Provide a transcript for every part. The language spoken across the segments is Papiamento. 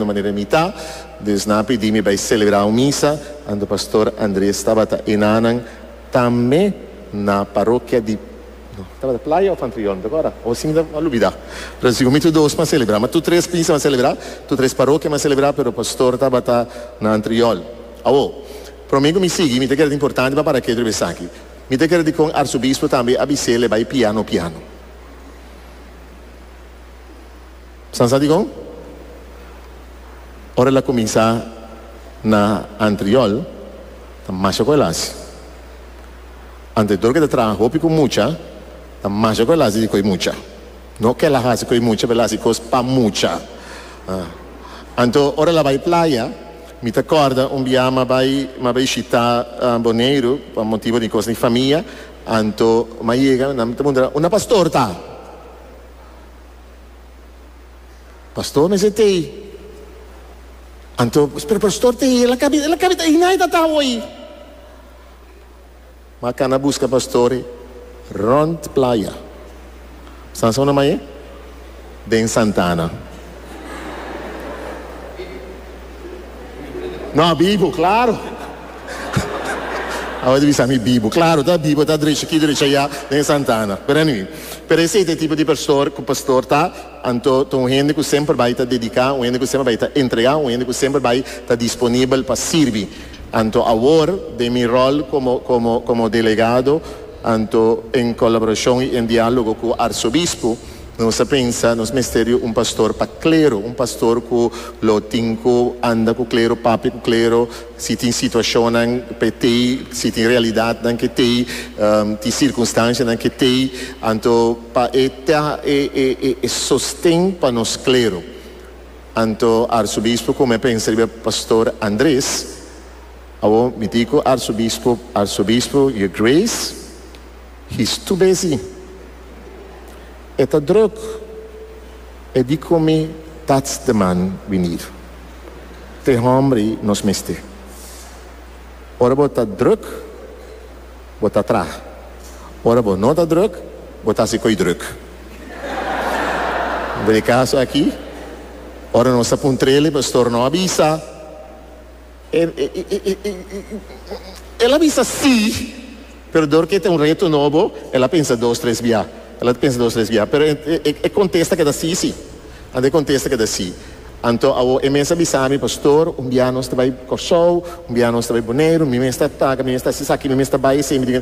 Manera mi ta, dus nan a pidi mi bai selebrá un misa, anto pastor Andres tabata enanan tambe na parokia di, no, tabata Playa of Antriol, mi ta kòrda, o si mi ta a lubidá, pero sigur mi tur dos m'a selebrá, ma tur tres misa m'a selebrá, tur tres parokia m'a selebrá, pero pastor tabata na Antriol. Awor, promé ku mi sigui, mi ta kere ta importante pa para ketu riba esaki. Mi ta kere dikon arsobispo tambe a bis'é bai piano piano. San sa dikon? Ora el a kuminsá na Antriol, ta masha ku el hasi. Ante dor ku e ta traha hopi ku mucha, ta masha ku el hasi di koe mucha. No ku el a hasi koe mucha, pero el a hasi kos pa mucha. Anto ora el a bai playa, mi ta kòrda un bia m'a bai m'a bai shitá Boneiru pa motibu di kos di famia, anto m'a yega, nan ta puntra, Unda pastor ta? Pastor mester tei. Anto, pero pastor tei, el a kabi, el a kabi ta einan e ta ta awor. Ma kana buska pastor rond playa. San sa una maye? Den Santana. No, bibu, claro. Awor ta bisa mi bibu. Claro, ta bibu, ta drecha aki, drecha aya den Santana. Pero anyway, pero esei ta e tipo di pastor cu pastor ta. Anto ta un hende cu semper bai ta dedica, un hende cu semper bai ta entrega, un hende cu semper bai ta disponibel pa sirbi. Anto awor, den mi rol como, como, como delegado, anto en colaboracion y en dialogo cu Arzobispo, Nos a pensa nos mester di un pastor pa klero, un pastor ku lo tin ku anda ku klero, papia ku klero, si tin situashonnan p'e tei, si tin realidatnan ke tei, tin sirkunstanshanan ke tei, anto pa e ta e e e e sosten pa nos klero. Anto Arsobispo ku mi a pensa riba pastor Andres, awor mi di ku Arsobispo, Arsobispo, Your Grace, He's too busy. E ta druk. E di ku mi, That's the man we need. T'e hombre nos mester. Ora bo ta druk, bo ta traha. Ora bo no ta druk, bo ta hasi ko'i druk. Den e kaso aki, ora nos ta puntr'el, e pastor no a bisa. El a bisa sí, pero dor ke ta un reto nobo, el a pensa dos, tres bia. El a pensa dos, tres bia. Pero e kontesta keda sí, sí. Anto e kontesta keda sí. Anto awor e mes a bisa mi, Pastor, un bia nos ta bai Kòrsou, un bia nos ta bai Boneiru, mi mes ta paga, mi mes ta hasi esaki, mi mes ta bai esei. Mi di,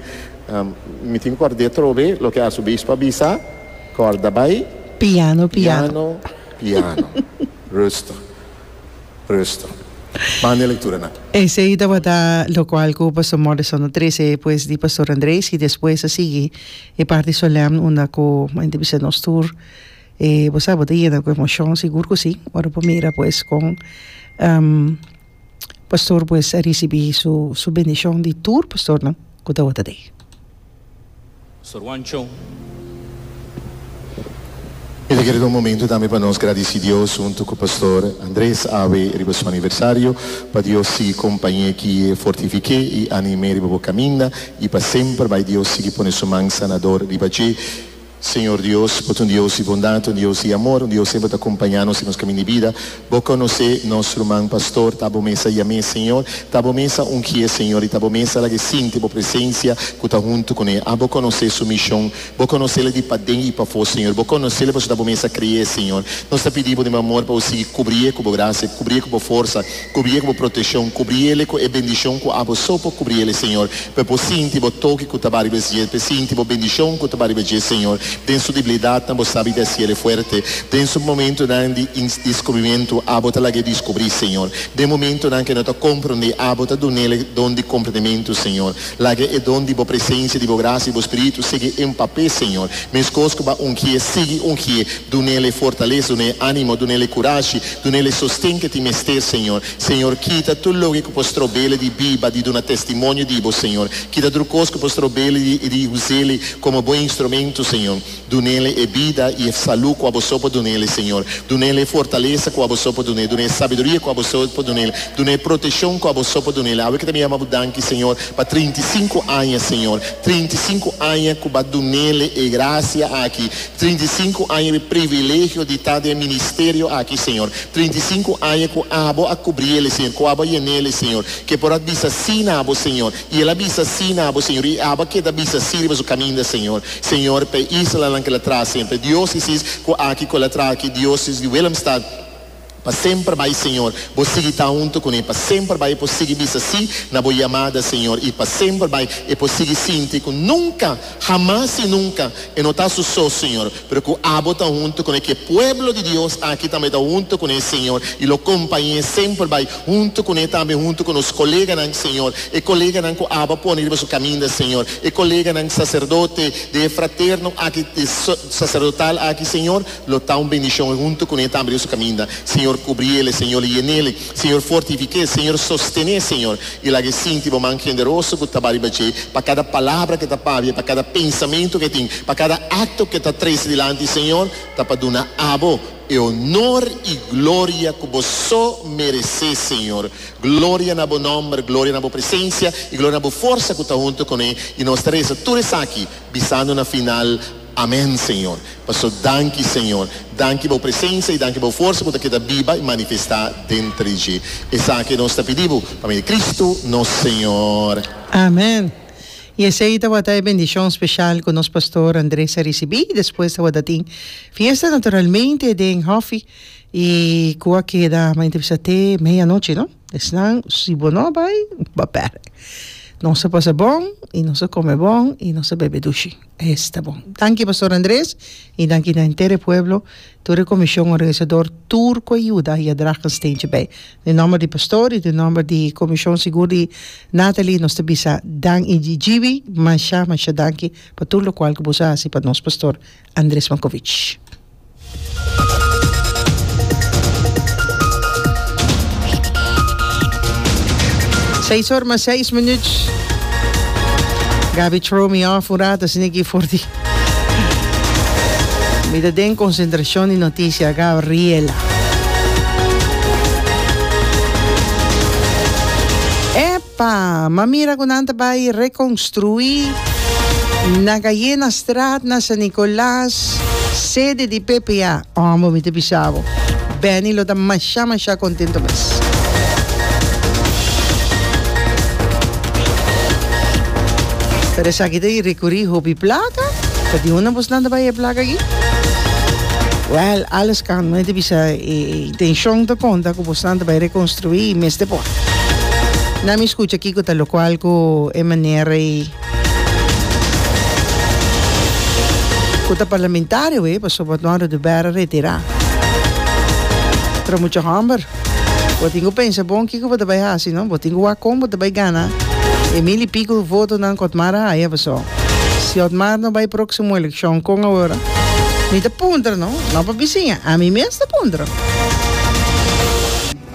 Mi tin ku kòrd'é atrobe loke Arsobispo a bisa, kòrda bai Piano, piano. Piano, piano. Rustig. Rustig. Manda e lectura nan. Esey tabata locual cu Pastor Morrison a trece pues di Pastor Andres y despues a sigui e parti solemn unda cu a entrevista nos tur. E bo sa bo ta yena cu emocion sigur cu si ora bo mira pues con Pastor pues a ricibi su su bendicion di tur pastornan cu tabata dey. Sor Juancho. Mi ta kere ta un momento tambe pa nos gradici Dios hunto cu Pastor Andres awe riba su aniversario, pa Dios sigui compañe ki'e, fortifique y anime riba bo caminda y pa semper bay Dios sigui pone su man sanador riba dje. Señor Dios, bo ta un Dios di bondad, un Dios di amor, un Dios semper ta compaña nos den nos caminda di bida. Bo conoce nos ruman pastor, ta bo mes a yam'é, Señor, ta bo mes a ungi'é, Señor, y ta bo mes a lag'é sinti bo presencia cu ta hunto cun'é. A Bo conoce su mision, Bo conocele di paden y pafó, Señor. Bo conocele pasobra ta bo mes a cre'é, Señor. Nos ta pidi Bo den bo amor pa Bo sigui cubri'é cu Bo gracia, cubri'é cu Bo forsa, cubri'é cu Bo proteccion, cubri'ele cu e bendicion cu Abo so por cubri'ele, Señor. Pa e por sinti Bo toki cu ta ba riba dje, pa e sinti Bo bendicion cu ta ba riba dje, Señor. Den su debilidadnan Bo sabi di haciele fuerte. Den su momentonan di descubrimiento, Abo ta lag'é descubrí, Señor. Den momentonan cu e no ta comprendé, Abo ta dun'ele don di comprendimento, Señor. Laga e don di Bo presencia, di Bo gracia, di Bo Spiritu sigui empap'é, Señor. Mescos cu Bo a ungié, sigui ungié. Dun'ele fortaleza, dun'é animo, dun'ele curashi, dun'ele sosten cu e tin mester, Señor. Señor, kita tur loke cu por strob'ele di biba, di duna testimonio di Bo, Señor. Kita tur cos cu por strob'ele di, di us'ele como Bo instrumento, Señor. Señor. Dunele e bida i e salú ku abo so por dunele, Señor. Dunele e fortalesa ku abo so por dun'é. Dun'é e sabiduria ku abo so por dun'é. Dun'é e proteshon ku abo so por dun'é. Awe ku ta mi yama bo danki, Señor, pa 35 aña, Señor. 35 aña ku bo a dunele e grasia aki. 35 aña e privilegio di ta den e ministerio aki, Señor. 35 aña ku abo a kubriele, Señor, ku abo a yenele, Señor. Ke por a bisa sí na abo, Señor. I el a bisa sí na abo, Señor. I abo a keda bisa sí riba su kaminda, Señor. Señor, pa e islanan ku el a traha semper. Diósesis ku aki ku el a traha aki, Diósesis di Willemstad, pa semper bai, Señor. Bo sigui ta huntu kuné pa semper bai. E por sigui bisa sí na bo yamada, Señor. I pa semper bai e por sigui sinti ku nunka, hamas i nunka, e no ta su so, Señor, pero ku abo ta huntu kuné, ku e pueblo di Dios aki tambe ta huntu kuné, Señor, i lo kompañ'é semper bai huntu kuné tambe, huntu ku nos koleganan, Señor, e koleganan ku abo a pone riba su kaminda, Señor, e koleganan saserdote di e fraterno aki, di saserdotal aki, Señor, lo ta un bendishon huntu kuné tambe riba su kaminda. Señor, kubriele, Señor, yenele, Señor, fortifik'é, Señor, sostené, Señor, i laga e sinti bo man generoso ku ta bai riba dje, pa kada palabra ku e ta papia, pa kada pensamentu ku e tin, pa kada akto ku e ta trese dilanti, Señor, ta pa duna abo e honor i gloria ku bo so meresé, Señor. Gloria na bo nòmber, gloria na bo presensia i gloria na bo forsa ku ta huntu kuné. I nos ta resa tur esaki, bisando na final, Amèn, Señor. Paso danki, Señor. Danki bo presensia i danki bo forsa ku ta keda biba i manifestá denter di dje. Esaki nos ta pidi bo pa medio di Kristu nos Señor. Amèn. I esei tabata e bendishon speshal ku nos pastor Andres a risibí. Despues tabata tin fiesta naturalmente den hòfi i ku a keda, mi ta bisa te meianochi, no? Esnan si bo no bai, bo a pèrdè. Nos a pasa bon i nos a kome bon i nos a bebe dushi. Esta bon. Danki Pastor Andres i danki na henter e pueblo, tur e komishon organisador, tur ku a yuda i a draga un steentje bij. Den nomber di pastor i den nomber di komishon sigur di Nathalie nos ta bisa Dan i Gibi masha masha danki pa tur lokual ku boso a hasi pa nos pastor Andres Mankovich. Seis or mas seis minuut. Gabi throw me off un rato asina aki for di Mi ta den concentracion di noticia Gabriela. Epa, m'a mira cu nan ta bay reconstrui na Gallenastraat na San Nicolas sede di PPA. Hombo mi ta bisa bo, Benny lo ta masha masha contento mes. Pero esaki ta recuri hopi placa, ta di unda bosnan ta bay e placa aki? Well, alles kan, mi ta bisa e intencion ta conta cu bosnan ta bay reconstrui y mester por. Na mi scucha kico ta locual cu e manera y. Cu ta parlamentario e pasobra Otmar Oduber a retira. Pero mucha homber, bo tin cu pensa bon kico bo ta bay haci no, bo tin cu wak con bo ta bay gana e mil y pico votonan cu Otmar a haya pasobra si Otmar no bay proximo eleccion con awor? Mi ta puntra no, no pa bisiña, ami mes ta puntra.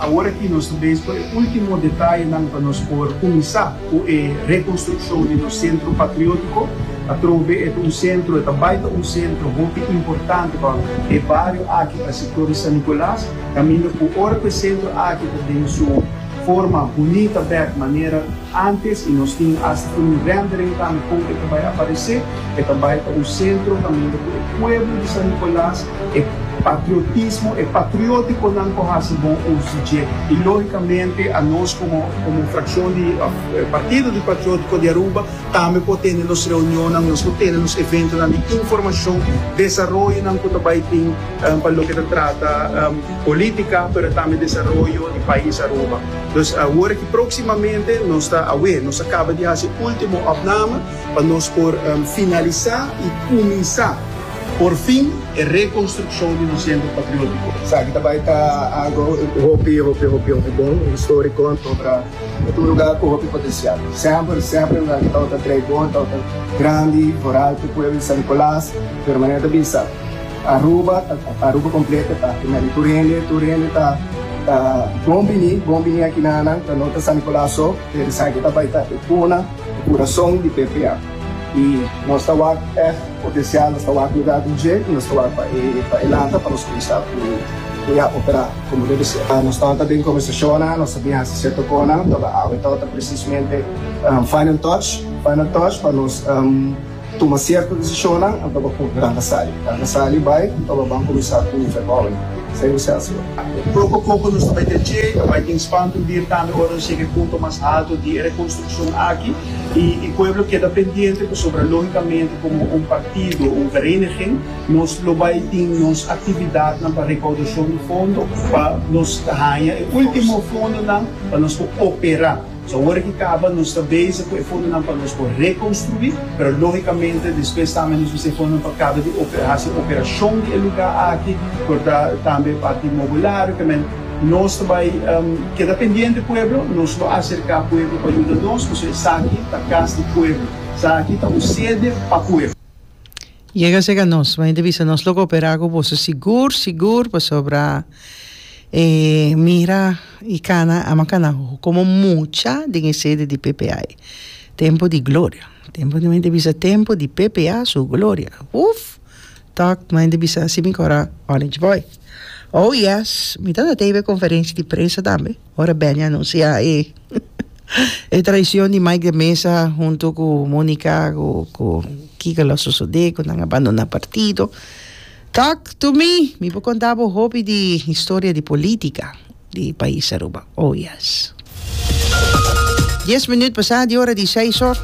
Awor aki nos ta bezig ku e último detayenan pa nos por kuminsá ku e rekonstrukshon di nos Sentro Patriótiko. Atrobe e ta un sentro, e ta bai ta un sentro hopi importante pa e bario aki, pa e sektor di San Nicolas, kaminda ku ora ku e sentro aki ta den su forma bunita bèk manera ántes i nos tin asta tin un rendering tambe kon e ta bai aparesé, e ta bai ta un sentro kaminda ku e pueblo di San Nicolas, E patriotismo, e patriotikonan ku hasi bon uso di dje. I lógikamente anos komo komo frakshon di òf partido di Patriotiko di Aruba tambe por tene nos reunionnan, nos por tene nos eventonan di informashon, desaroyonan ku ta bai tin pa loke ta trata polítika pero tambe desaroyo di pais Aruba. Dus awor aki próksimamente nos ta awe nos a kaba di hasi último opname pa nos por finalisá i kuminsá. Por fin e reconstruccion di nos Centro Patriótico. Esaki ta bai ta algo hopi, hopi, hopi, hopi bon, historico, pasobra e ta un lugar cu hopi potencial. Semper, semper e lugar aki tabata trei bon, tabata grandi, vooral pa e pueblo di San Nicolas, pero manera ta bisa, Aruba, Aruba completo ta aki medi tur hende, tur hende ta ta bon bini, bon bini aki na nan, ta no ta San Nicolas so, pero esaki ta bai ta e cuna, e curason di PPA. Y. Nos ta wak ègt potensial, nos ta wak lugá den dje i nos ta wak pa e pa e lanta pa nos kuminsá ku ku ya operá komo debe ser. Nos tabata den kombersashonnan, nos ta bin hasi sierto konan, tabata awe tabata presismente final touch, final touch pa nos tuma sierto desishonnan anto pa ku ranka sali. Ranka sali bai anto pa ban kuminsá ku verbouwing. Esei nos a hasi. Poko poko nos ta bai den dje, ta bai tin spantubier tambe ora nos yega e punto mas halto di e rekonstrukshon aki. I e pueblo keda pendiente pasobra logicamente como un partido, un vereniging, nos lo bay tin nos actividadnan pa recaudacion di fondo pa nos haña e ultimo fondonan pa nos por opera. So awor aki caba nos ta bezig cu e fondonan pa nos por reconstrui, pero logicamente despues tambe nos mester e fondonan pa caba di haci operacion di e lugar aki, por ta tambe parti mobilario, kimen. Nos ta bai keda pendiente pueblo, nos lo aserká pueblo pa yuda nos, pasobra esaki ta kas di pueblo, esaki ta un sede pa pueblo. Yega serka nos, bo hende bisa nos lo koperá ku boso sigur sigur pasobra e mira i kana ama kana komo mucha den e sede di PPA. Tempu di gloria, tempu di hende bisa tempu di PPA su gloria, uf! Tok, mi hende bisa si mi kora Orange Boy. Oh yes, mi tabata tei e conferencia di prensa tambe, ora Benny anuncia e e traicion di Mike de Meza hunto cu Monica cu cu kico lo sosode cu nan a bandona partido. Talk to me, mi por conta bo hopi di historia di politica. Di pais Aruba. Oh yes. Dies minuut pasá di ora di seis or.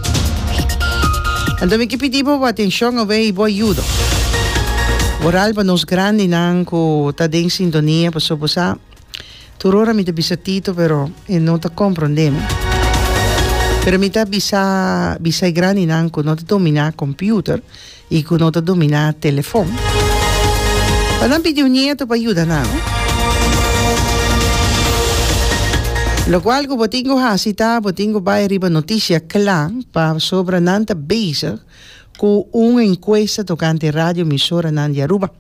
Anto mi ke pidi bo bo atencion awe y bo ayudo. Vooral pa nos grandinan cu ta den sintonia paso bo sa tur ora mi ta bisa Tito pero e no ta comprende mi. Pero mi ta bisa bisa e grandinan cu no ta domina computer. i ku no ta dominá telefon. Pa nan pidi un nieto pa yuda nan. Lokual ku bo tin ku hasi ta bo tin ku bai riba Notisia Kla pasobra nan ta bezig ku un enkuesta tokante radioemisoranan di Aruba.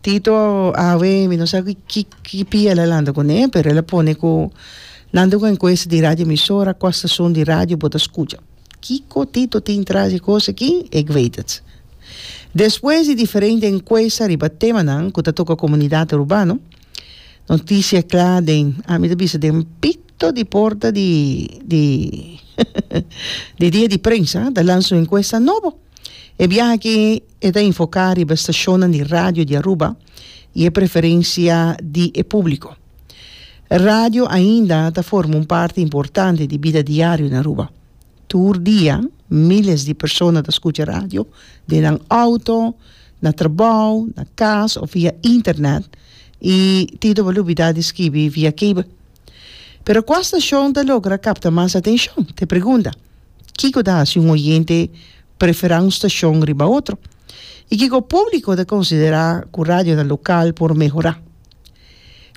Tito awe mi no sa ki ki pia el a lanta kuné pero el a pone ku nan ta ku enkuesta di radioemisora kua stason di radio bo ta skucha. Kiko Tito tin tras di kos aki? Ik weet het. Despues di diferente enkuesta riba temanan ku ta toka komunidat urbano, notisia kla den, ami ta bisa den pito di porta di di di dia di prensa ta lansa un enkuesta nobo. E biaha aki e ta enfoká riba stashonnan di radio di Aruba i e preferensia di e públiko. Radio ainda ta forma un parti importante di bida diario na Aruba. Tur dia miles di persona ta scucha radio den nan auto, na trabou, na cas of via internet y Tito bo lubida di skibi via cable. Pero cua stacion ta logra capta mas atencion? T'e pregunta. Kico ta haci un oyente prefera un stacion riba otro? Y kico publico ta considera cu radionan local por mehora?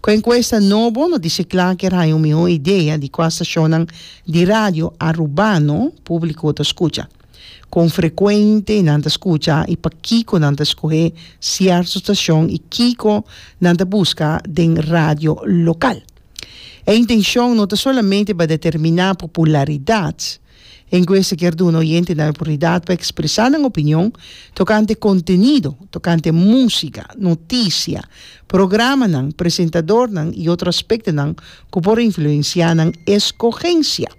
Ku enkuesta nobo no dice kla kier haña un mihó idea di kua stashonnan di radio arubano públiko ta skucha, kon frekuente nan ta skucha i pakiko nan ta skohé sierto stashon i kiko nan ta buska den radio lokal. E intenshon no ta solamente pa determiná popularidat. Enkuesta kier duna oyentenan e oportunidat pa ekspresá nan opinion tokante kontenido, tokante músika, notisia, programanan, presentadornan i otro aspektonan ku por influensiá nan eskogensia.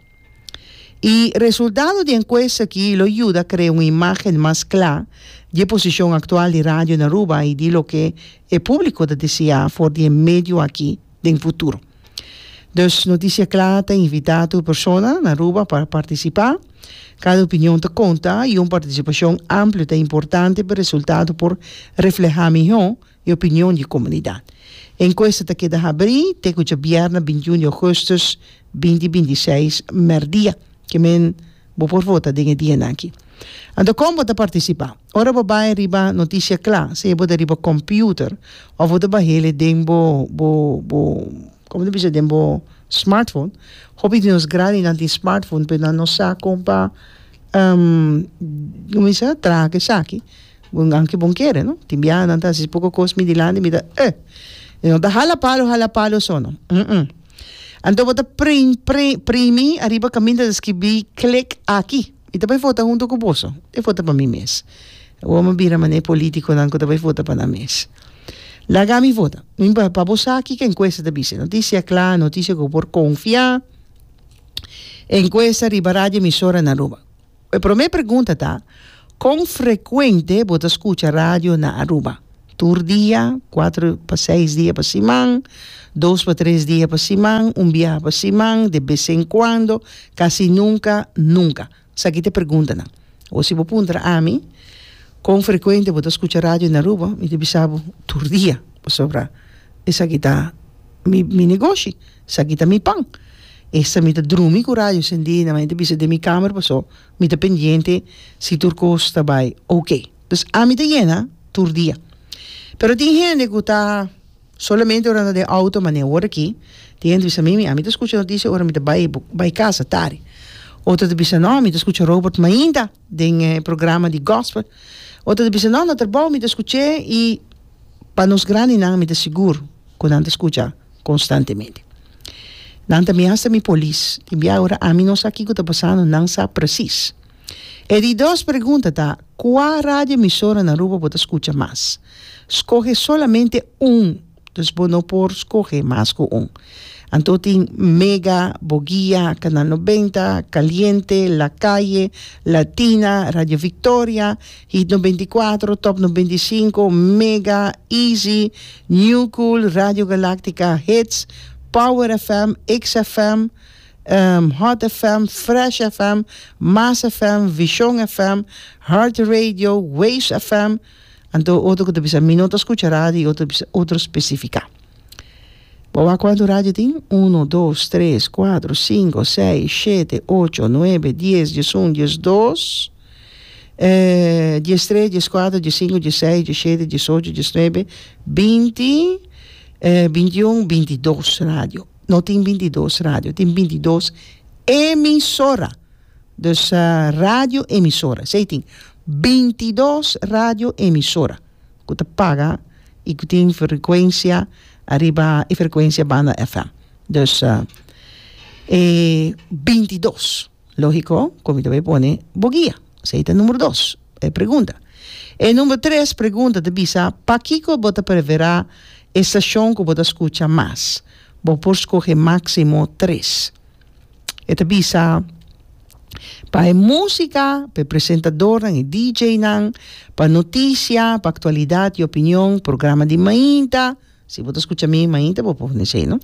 E resultado di enkuesta aki lo yuda krea un imágen mas kla di e posishon aktual di radio na Aruba i di loke e públiko ta deseá for di e medio aki den futuro. Dus Noticia Cla ta invita tur persona na Aruba pa participa. Cada opinion ta conta y un participacion amplio ta importante pa e resultado por refleha miho e opinion di e comunidad. E encuesta ta keda habri te cu djabièrnè 21 di augustus 2026 merdia. Ke men Bo por vota den e dianan aki. Anto kon bo ta partisipá? Ora bo bai riba Notisia Kla, sea bo ta riba kòmpiuter òf bo ta bah'el den bo bo bo komo ta bisa den bo smartphone. Hopi di nos grandinan tin smartphone pero nan no sa kon pa komo bisa traha ku esaki. Bon anke bon kere no. Tin biaha nan ta hasi poko kos mi dilanti mi ta eh. E no ta hala palo hala palo so no. Anto bo ta prim pri primi ariba kaminda ta skibí klik aki. Mi ta bai vota hunto ku boso. E vota pa mi mes. Awor mi a bira manera e politikonan ku ta bai vota pa nan mes. Laga mi vota. Mi pa pa bo sa kiko enkuesta ta bisa. Notisia kla, notisia ku bo por konfia. Enkuesta riba radio emisora na Aruba. E promé pregunta ta, Kon frekuente bo ta skucha radio na Aruba? Tur dia, kuater pa seis dia pa siman, dos pa tres dia pa siman, un biaha pa siman, de bes en kuando, kasi nunka, nunka. Esaki ta e preguntanan. Awor si bo puntra ami, kon frekuente bo ta skucha radio na Aruba, mi ta bisa bo tur dia, pasobra esaki ta mi mi negoshi. Esaki ta mi pan. Esta mi ta drumi ku radio sendí na mi ta bisa den mi kamer paso mi ta pendiente si tur kos ta bai oke. Dus ami ta yena tur dia. Pero tin hende ku ta solamente ora nan ta den outo manera awor aki tin hende ta bisa mimi ami ta skucha notisia ora mi ta bai bai kasa tardi. Otro ta bisa no mi ta skucha Robert mainta den e programa di gospel. Otro ta bisa no na trabou mi ta skuch'é i pa nos grandinan mi ta sigur ku nan ta skucha. Konstantemente. Nan ta mi hasta mi polis. Tin bia ora ami no sa kiko ta pasando, nan sa presis. E di dos pregunta ta, kua radio emisora na Aruba bo ta skucha mas? Skohe solamente un, dus bo no por skohe mas ku un. Anto tin Mega, Boguia, Canal 90, Caliente, La Calle, Latina, Radio Victoria, Hit 94, Top 95, Mega, Easy, New Cool, Radio Galactica, Hits, Power FM, XFM, Hot FM, Fresh FM, Mas FM, Vision FM, Heart Radio, Waves FM. Anto otro ku ta bisa mi no ta skucha radio i otro ta bisa otro spesifiká. Bo wak kuantu radio tin? Uno, dos, tres, kuatro, sinku, seis, shete, ocho, nuebe, dies, diesun, diesdos. 13, 14, 15, 16, 17, 18, 19, 20, 21, 22 radio. No tin 22 radio, tin 22 emisora. Dus radio emisora. Esei tin 22 radio emisora ku ta paga i ku tin frekuensia ariba e frekuensia banda FM. Dus e 22. Lógiko ku mi ta bai pone bo guia. Esei ta numero dos, e pregunta. E numero tres pregunta ta bisa, Pakiko bo ta preferá e stashon ku bo ta skucha mas? Bo por skohe máksimo tres. E ta bisa, Pa e músika, pa e presentadornan, e DJ-nan, pa notisia, pa aktualidat i opinion, programa di mainta. Si bo ta skucha mi mainta bo por pone esei, no?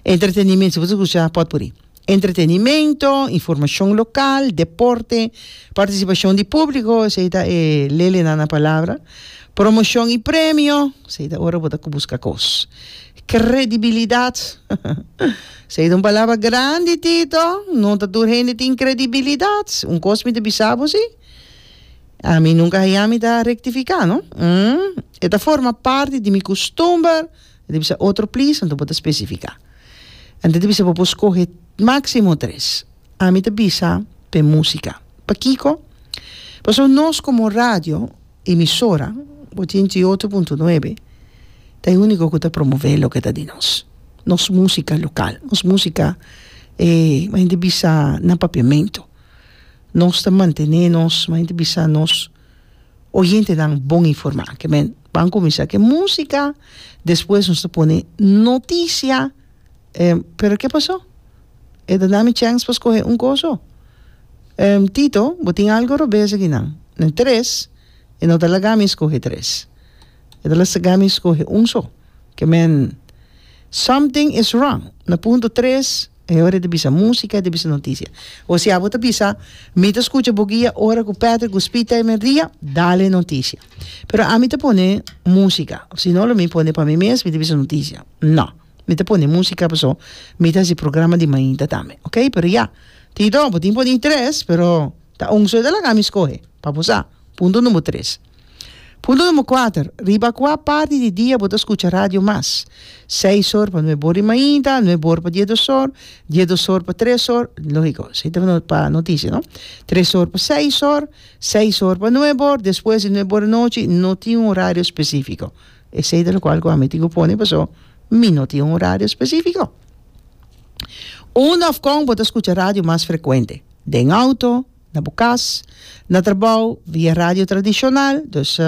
Entretenimento, si bo ta skucha pòtpuri. Entretenimento, informashon lokal, deporte, partisipashon di públiko, esei ta e lelenan na palabra, promoshon i premio, esei ta ora bo ta ku buska kos. Kredibilidat, esei ta un palabra grandi Tito, no ta tur hende tin kredibilidat, un kos mi ta bisa bo si, ami nunka haña mi ta rektifiká no, e ta forma parti di mi kustumber, e ta bisa otro plis, anto bo ta spesifiká. Anto ta bisa bo por skohe máksimo tres. Ami ta bisa p'e músika. Pakiko? Pasobra nos komo radio emisora, 88.9, ta e úniko ku ta promové loke ta di nos. Nos músika lokal, nos músika e hende bisa na papiamentu. Nos ta mantené nos, hende bisa nos oyentenan bon informá. Ke men ban kuminsá ku e músika, despues nos ta pone notisia. Pero ke pasó? E ta dami chèns pa skohe un kos so. Tito, bo tin algu robes akinan. Na tres, e no ta laga mi skohe tres. E ta laga mi skohe un so. Ke men, something is wrong. Na punto tres. E ora e ta bisa músika, e ta bisa notisia. Osea bo ta bisa, mi ta skucha bo guia ora ku Patrick ku Speed ta emerdia, dale notisia. Pero ami ta pone músika. Si no lo mi pone pa mi mes, mi ta bisa notisia. No, mi ta pone músika paso mi ta hasi programa di mainta tambe. Ok, pero ya. Tito, bo tin pone tres, pero ta un so e ta laga mi skohe, pa bo sa. Punto number tres. Punto number kuater, Riba kua parti di dia bo ta skucha radio mas? Seis or pa nuebe or di mainta, nuebe or pa diesdos or, diesdos or pa tres or, lógiko, esei ta pa notisia, no? Tres or pa seis or, seis or pa nuebe or, despues di nuebe or anochi, no tin un horario spesífiko. Esei ta lokual ku ami tin ku pone paso mi no tin un horario spesífiko. Unda òf kon bo ta skucha radio mas frekuente? Den outo? Na bo kas, na trabou, via radio tradishonal, dus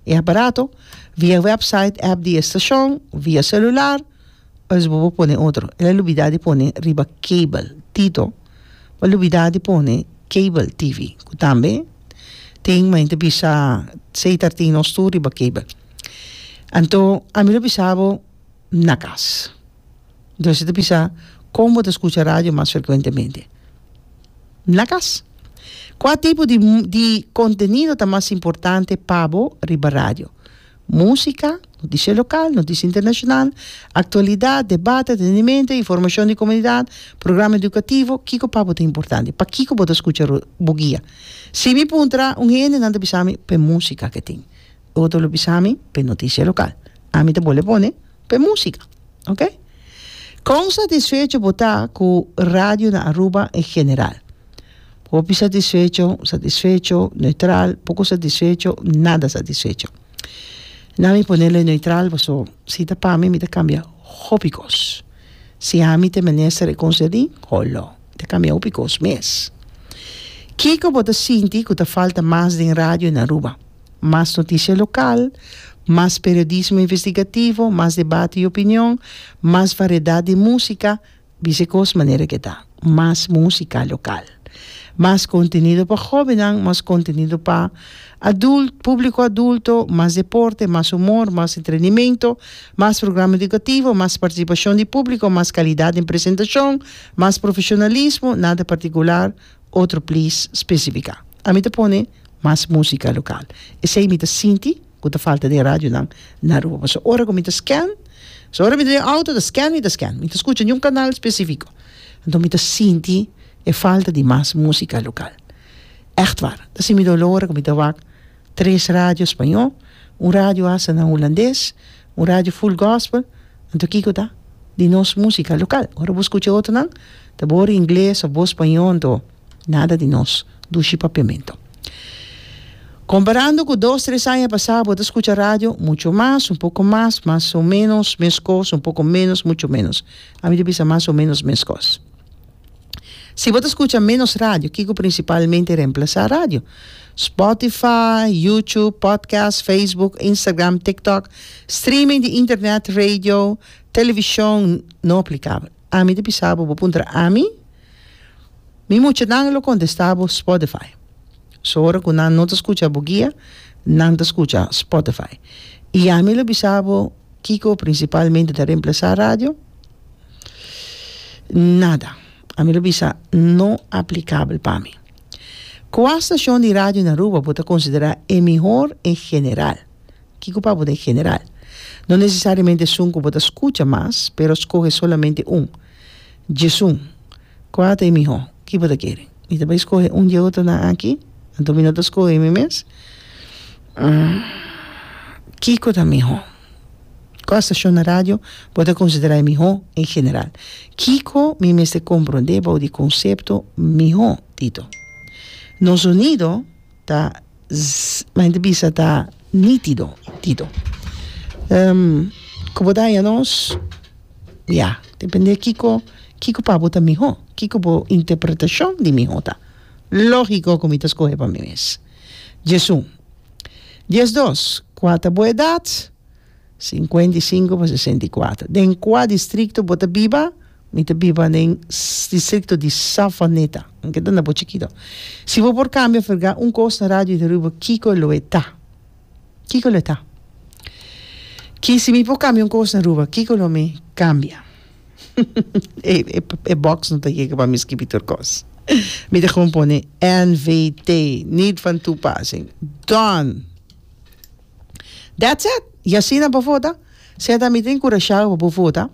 e aparato, via website, app di e stashon, via selular, pues bo por pone otro. El a lubida di pone riba cable, Tito bo a lubida di pone cable TV, ku tambe tin mi ta bisa setar tin nos tur riba cable. Anto ami lo bisa bo na kas. Dus e ta bisa kon bo ta skucha radio mas frekuentemente. Na kas. Kua tipo di di kontenido ta mas importante pa bo riba radio? Músika, notisia lokal, notisia internashonal, aktualidat, debate, entretenimento, informashon di komunidat, programa edukativo, kiko pa bo ta importante? Pakiko bo ta skucha bo guia? Si mi puntra un hende nan ta bisa mi p'e músika ke tin. Otro lo bisa mi p'e notisia lokal. Ami ta bole pone p'e músika. Ok. Kon satisfecho bo ta ku radio na Aruba en general? Hopi satisfecho, satisfecho, neutral, poko satisfecho, nada satisfecho. Na mi ponele neutral paso si ta pa mi, mi ta kambia hopi kos. Si ami ta e minister e konserní, holo, mi ta kambia hopi kos mes. Kiko bo ta sinti ku ta falta mas den radio na Aruba? Mas noticia local, mas periodismo investigativo, mas debate y opinion, mas variedad di musica, bisa e cos manera ke ta, mas musica local. Mas contenido pa hobennan, mas contenido pa adult, publico adulto, mas deporte, mas humor, mas entrenimento, mas programa educativo, mas participacion di publico, mas calidad den presentacion, mas profesionalismo, nada particular, Otro please specifica. Ami ta pone mas musica local. Esey mi ta sinti cu ta falta den radionan na Aruba. Pasobra ora cu mi ta scan, so ora mi ta den auto ta scan mi ta scan. Mi ta scucha niun canal specifico. Anto mi ta sinti e falta di mas musica local. Echt waar. Ta haci mi dolor ora cu mi ta wak tres radio spañó, un radio hasta na hulandes, un radio full gospel, anto kiko ta? Di nos músika lokal. Ora bo skucha otronan, ta bo ora ingles òf bo spañó, anto nada di nos dushi papiamentu. Komparando ku dos, tres aña pasá, bo ta skucha radio mucho mas, un poko mas, mas o ménos meskos, un poko ménos, mucho ménos. Ami ta bisa mas o ménos meskos. Si bo ta skucha ménos radio, kiko prinsipalmente remplasá radio? Spotify, YouTube, podcast, Facebook, Instagram, TikTok, streaming di internet, radio, televishon, no aplikabel. Ami ta bisa bo, bo puntra ami, mi muchanan lo kontestá bo Spotify. So ora ku nan no ta skucha bo guia, nan ta skucha Spotify. I ami lo bisa bo kiko prinsipalmente ta remplasá radio? Nada. Ami lo bisa no aplicabel pa mi. Cua stacion di radio na Aruba bo ta considera e mihor en general? Kico pa bo ta en general? No necesariamente esun cu bo ta scucha mas, pero scoge solamente un. Djesun. Cua ta e miho? Ki bo ta kere? Mi ta bay scoge un dje otronan aki, anto mi no ta scoge mi mes. Kico ta miho? Kua stashon na radio bo ta konsiderá e mihó en general? Kiko mi mester komprondé bou di konsepto mihó, Tito? Nos zonido ta mi ta bisa ta nítido, Tito. Ku bo ta haña nos? Ya, dependé kiko kiko pa bo ta mihó, kiko bo interpretashon di mihó ta. Lógiko ku mi ta skohe pa mi mes. Djesun. 12, Kua ta bo edat? 55 pa 64. Den kua distrikto bo ta biba? Mi ta biba den distrikto di Savaneta. Anke ta na bo chikito. Si bo por kambia ferga un kos na radio di Aruba, kiko lo e ta? Kiko lo e ta? Ki si mi por kambia un kos na Aruba, kiko lo mi kambia? E e box no ta yega pa mi skibi tur kos. Mi ta gewoon pone NVT, niet van toepassing. Done! That's it! Y asina bo vota. Sea ta mi ta enkurashá bo pa bo vota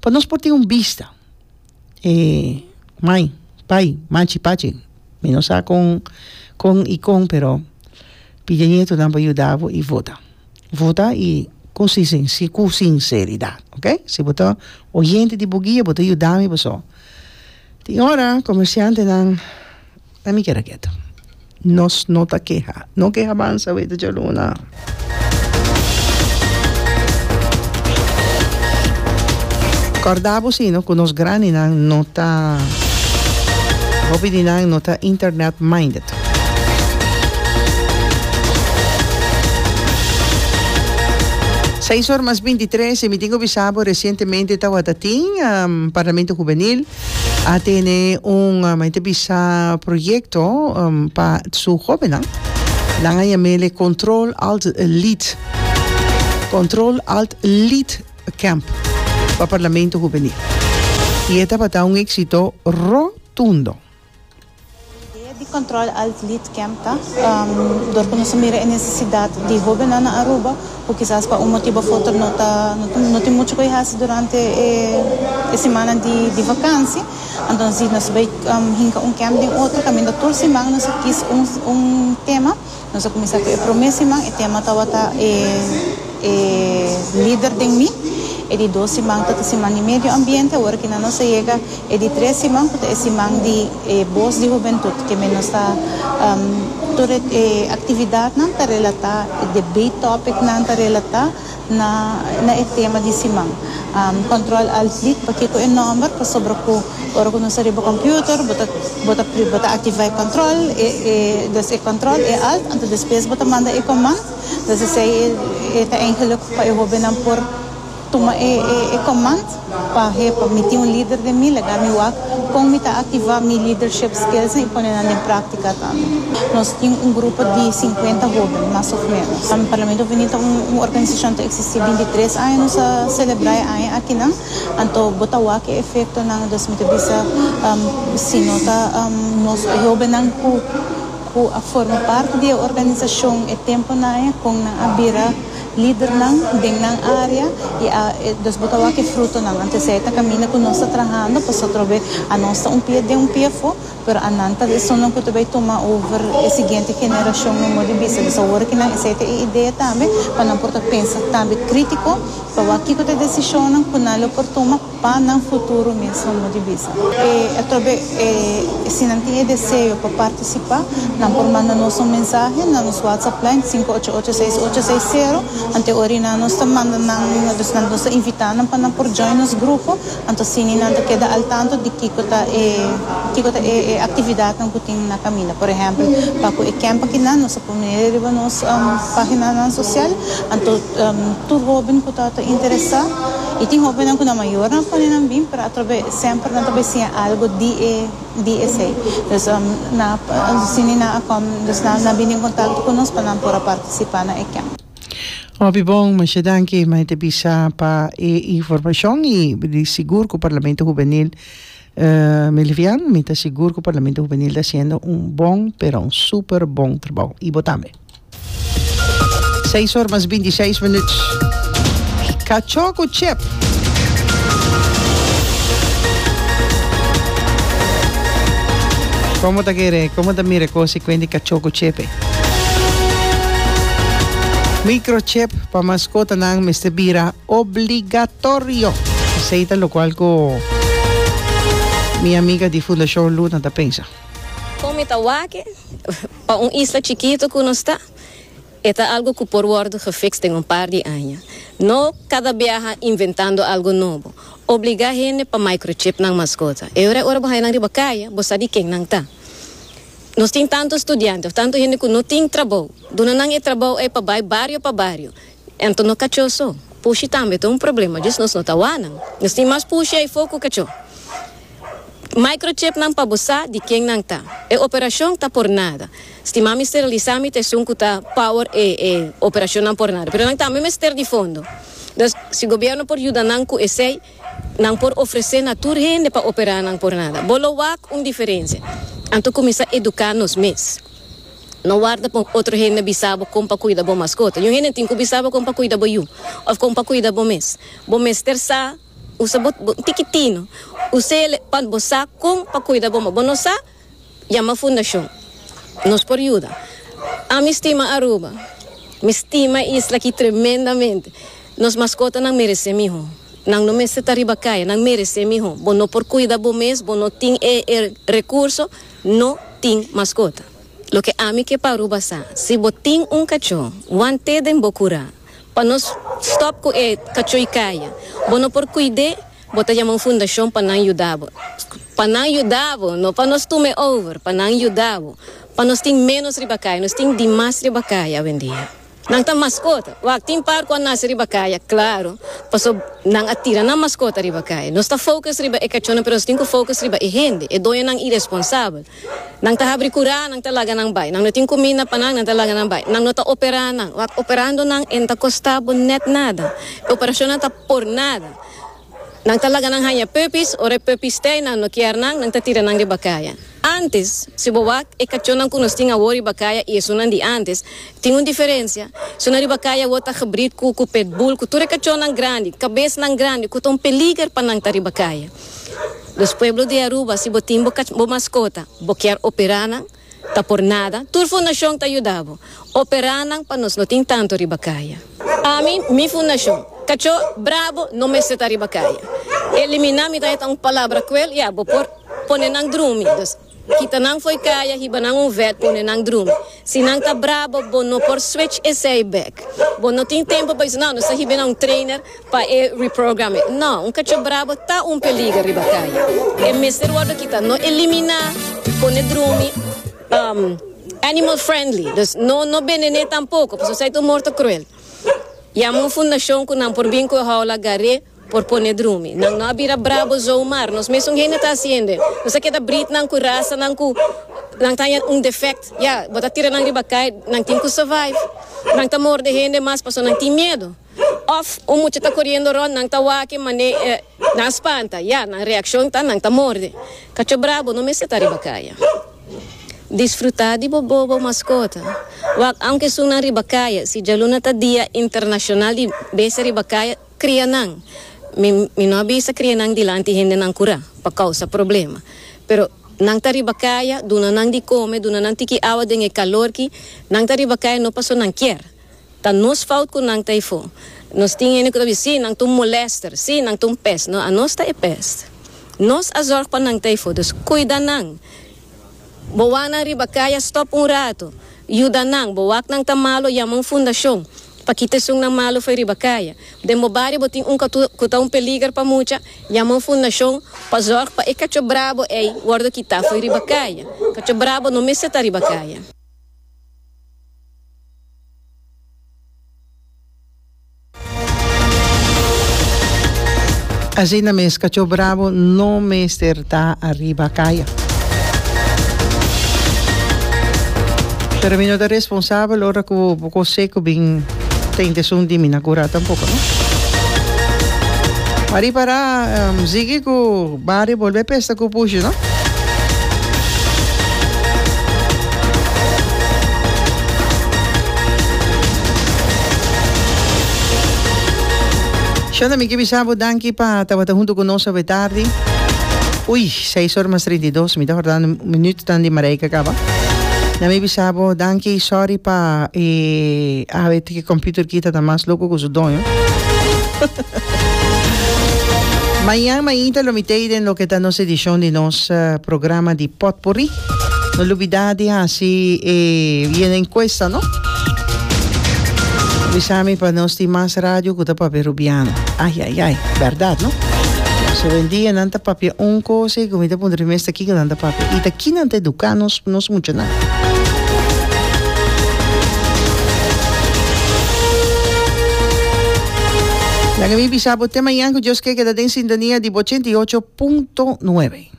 pa nos por tin un bista. E mai, pai, machi, pachi, mi no sa kon kon y kon pero pidi e nietonan pa yuda bo y vota. Vota y cu cu sinceridad, ok? Si bo ta oyente di bo guia, bo ta yuda mi paso tin ora comerciantenan na mi keda keto. Nos no ta keha. No keha bansa weta djaluna. Corda bo si no cu nos grandinan no ta. Hopi di nan no ta internet minded. Seis or mas bintitres y mi tin cu bisa bo recientemente tawata tin Parlamento Hubenil a tene un mi ta bisa proyecto pa su hobennan. Nan a yam'ele Control Alt Lead Control Alt Lead Camp pa Parlamento Hubenil y e tabata un exito rotundo. E idea di Control Alt Lead Camp ta dor ku nos a mira e nesesidat di hóbennan na Aruba ku kisas pa un motibu of otro no ta no tin muchu ku e hasi durante e simannan di di vakansi. Anto nos di nos bai hinka un camp den otro kaminda tur siman nos a kis un un tema. Nos a kuminsá ku e promé siman, e tema tabata e e lider den mi. E di dos siman ta ta siman di medio ambiente, awor aki nan nos a yega e di tres siman ku ta e siman di e bos di hubentut. Ke men nos ta tur e aktividatnan ta relatá, e debate topicnan ta relatá na na e tema di siman. Control Alt Delete, pakiko e nòmber? Pasobra ku Ora ku nos ta riba computer bo ta bo ta bo ta activa e control e e dus e control e alt anto despues bo ta manda e command dus esei e e ta eigenlijk pa e hobennan por tuma e e e command pa he pa mi tin un lider den mi laga mi wak kon mi ta activa mi leadership skills i pone nan den practica tambe. Nos tin un grupo di sinkuenta hoben mas of menos. Parlamento Hubenil ta un un organisacion ta existi bintitres aña nos a celebra e aña akinan. Anto bo ta wak e efectonan, dus mi ta bisa si no ta nos hobennan cu cu a forma parti di e organisacion e temponan ei con nan a bira lidernan den nan area y a dus bo ta wak e frutonan. Anto esei ta caminda cu nos ta trahando pasobra atrobe anos ta un pia den un pia afo pero anan ta esunnan cu ta bay tuma over e siguiente generacion no modo di bisa. Dus awor ki nan esei ta e idea tambe pa nan por ta pensa tambe critico. Pa wak kiko ta e desishonnan ku nan lo por tuma pa nan futuro mes no di bisa. E atrobe e si nan tin e deseo pa partisipá, nan por manda nos un mensahe na nos WhatsApp line sinku ocho ocho seis ocho seis sero. Anto e ora nan nos ta manda nan, dus nan nos ta invitá nan pa nan por join nos grupo. Anto asina nan ta keda al tanto di kiko ta e kiko ta e e aktividatnan ku tin na kaminda. Por ehèmpel, pa ku e kèmp akinan nos a pone riba nos páginanan sosial. Anto tur hóben ku ta ta interesá i tin hóbennan ku nan mayornan a pone nan bin, pero atrobe semper nan ta bai siña algu di e di esei. Dus nan a sini nan a kòm, dus nan a bini en kontakto ku nos pa nan por a partisipá na e kèmp. Hopi bon, masha danki Maite Bisa pa e informashon i di sigur ku Parlamento Hubenil Melivian mi ta sigur ku Parlamento Hubenil ta hasiendo un bon pero un super bon trabou i bo tambe. Seis or mas bintiseis minuut. Kachó ku chip. Komo ta kere, komo ta mira kos i kuenti kachó ku chip ei? Microchip pa maskotanan mester bira obligatorio. Esei ta lokual ku mi amiga di Fundashon Luna ta pensa. Kon mi ta wak e? Pa un isla chikito ku nos ta, e ta algu ku por wòrdu gefiks den un par di aña. No kada biaha inventando algu nobo. Obligá hende pa microchip nan maskota. E ora ora bo haña nan riba kaya, bo sa di ken nan ta. Nos tin tantu studiante òf tantu hende ku no tin trabou. Duna nan e trabou ei pa bai bario pa bario. Anto no kachó so. Pushi tambe ta un problema, djis nos no ta wak nan. Nos tin mas pushi aifó ku kachó. Microchipnan pa bo sa di ken nan ta. E operacion ta por nada. Stima mi sterelisa mi ta esun cu ta power e e operacionnan por nada. Pero nan tambe mester di fondo. Dus si gobierno por yuda nan cu esey, nan por ofrece na tur hende pa opera nan por nada. Bo lo wak un diferencia. Anto cuminsa educa nos mes. No warda pa otro hende bisa bo con pa cuida bo mascota. Niun hende tin cu bisa bo con pa cuida bo yu of con pa cuida bo mes. Bo mester sa. Usa bo bo tikitino. Us'el pa bo sa kon pa kuida bo. Ma bo no sa, yama fundashon. Nos por yuda. Ami stima Aruba. Mi stima e isla aki tremendamente. Nos maskotanan meresé mihó. Nan no mester ta riba kaya. Nan meresé mihó. Bo no por kuida bo mes, bo no tin e e rekurso, no tin maskota. Loke ami ke pa Aruba sa, si bo tin un kachó, want'é den bo kurá. Pa nos stop cu e cachoy caya. Bo no por cuid'e, bo ta yama un fundacion pa nan yuda bo. Pa nan yuda bo, no pa nos tume over, pa nan yuda bo. Pa nos tin menos riba kaya, nos tin dimas riba kaya awendia. Nan ta maskota. Wak, tin par ku a nase riba kaya, klaro, paso nan a tira nan maskota riba kaya. Nos ta focus riba e kachónan, pero nos tin ku focus riba e hende, e doñonan iresponsabel. Nan ta habri kurá, nan ta laga nan bai. Nan no tin kuminda pa nan, nan ta laga nan bai. Nan no ta operá nan. Wak, operando nan e no ta kostá bo nèt nada. E operashonnan ta por nada. Nan ta laga nan haña puppies, ora e puppies tei nan no kier nan, nan ta tira nan riba kaya. Antes, si bo wak e kachónan ku nos tin awor riba kaya i esunnan di antes, tin un diferensia. Esunnan riba kaya awor ta gebrid ku ku pitbull, ku tur e kachónan grandi, kabesnan grandi, ku ta un peliger pa nan ta riba kaya. Dus pueblo di Aruba, si bo tin bo bo maskota, bo kier operá nan, Ta por nada, tur fundashon ta yuda bo. Operá nan pa nos no tin tantu riba kaya. Ami, mi fundashon. Kachó brabo no mester ta riba kaya. Eliminá mi ta heta un palabra kuel, ya, bo por pone nan drumi. Dus, kita nan fo'i kaya, hiba nan un vèt, pone nan drumi. Si nan ta brabo, bo no por switch esei bèk. Bo no tin tempu pa bisa, no, nos ta hiba nan un trainer pa e reprogram e. No, un kachó brabo ta un peliger riba kaya. E mester wòrdu kita, no eliminá, pone drumi, animal friendly. Dus no no benen'é tampoko, pasobra esei ta un morto kruel. Yama un fundashon ku nan por bin ku e houla gar'é. Por pone drumi. Nan no a bira brabo zomaar. Nos mesun hende ta haciendo. Nos a keda breed nan cu razanan cu nan ta haña un defect. Ya, bo ta tira nan riba cay, nan tin cu survive. Nan ta morde hende mas pasobra nan tin miedo. Of un mucha ta coriendo rond, nan ta wak e mane nan a spanta. Ya, nan reaccion ta nan ta morde. Cacho brabo no mester ta riba caya. Disfruta di bo bobo mascota. Wak aunke esunnan riba caya, si djaluna ta dia internacional di bestia riba caya, Cria nan. Mi mi no a bisa cria nan dilanti hendenan cura pa causa problema. Pero nan ta riba caya, duna nan di come, duna nan tiki awa den e calor ki, nan ta riba caya no paso nan kier. Ta nos fout cu nan ta eyfo. Nos tin hende cu ta bisa, si, nan ta un molester, si, nan ta un pest. No, anos ta e pest. Nos a zorg pa nan ta eyfo. Dus cuida nan. Bo wak nan riba kaya stop un rato. Yuda nan. Bo wak nan ta malo yama un fundashon pa kita esun nan malo fo'i riba kaya. Den bo bario bo tin un ku ta un peliger pa mucha, yama un fundashon pa zorg pa e kacho brabo ei wordo kita fo'i riba kaya. Kacho brabo no mester ta riba kaya. Asina mes kachó brabo no mester ta ariba kaya. Pero mi no ta responsabel ora ku bo kos seku bin ta intesun di mi na kura tampoko no. Mari para sigui ku bario bolbe pesta ku pushi no. Shonda, mi ke bisa bo danki pa tabata huntu ku nos awe tardi. Ui, seis ora mas 32, mi ta hordando minuutnan di Marijke kaba. Na mi bisa bo danki, sorry pa e awe tiki computer kita ta mas loko ku su doño. Mañan mainta lo mi tei den loke ta nos edishon di nos programa di Potpourri. No lubida di hasi e yena enkuesta no. Bisa mi pa nos tin mas radio ku ta papia Rubiano. Ai ai ai, bèrdat no? So wendia nan ta papia un kos ei ku mi ta puntra mi mes ta kiko nan ta papia i ta ki nan ta eduká nos nos muchanan. Laga mi bisa bo te mañan ku Dios ke keda den sintonia di bo 88.9.